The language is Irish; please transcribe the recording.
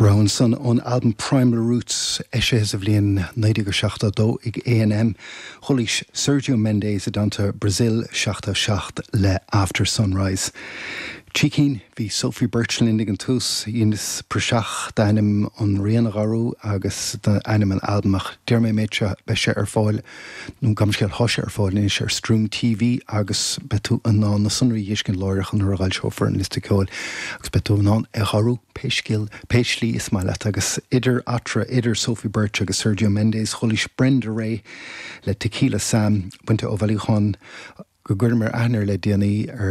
Rogha ansan ón albam Primal Roots, eisithe sa bhliain 1972 ag A&M. Chualaís Sergio Mendes i dteannta Brasil 77 le After Sunrise. Trí cinn, bhí Sophie Birch linn ag an tús, dheineas praiseach d'ainm an rian a dh'athrú agus d'ainm an albaim ach déarfaidh mé an méid seo, beidh sé ar fáil, nó gabh mo leithscéal, tá sé ar fáil anois ar Stream TV agus beidh tú in ann na sonraí a dh'fheiscint láithreach nuair a dh'fhoilseofar an liosta ceoil agus beidh tú in ann é dh'athrú pé scéal, pé slí is maith leat agus idir eatarthu, idir Sophie Birch agus Sergio Mendes, chualaís Brenda Ray le Tequila Sam, bainte ó bhailiúchán go gcuireamar aithne air le déanaí ar.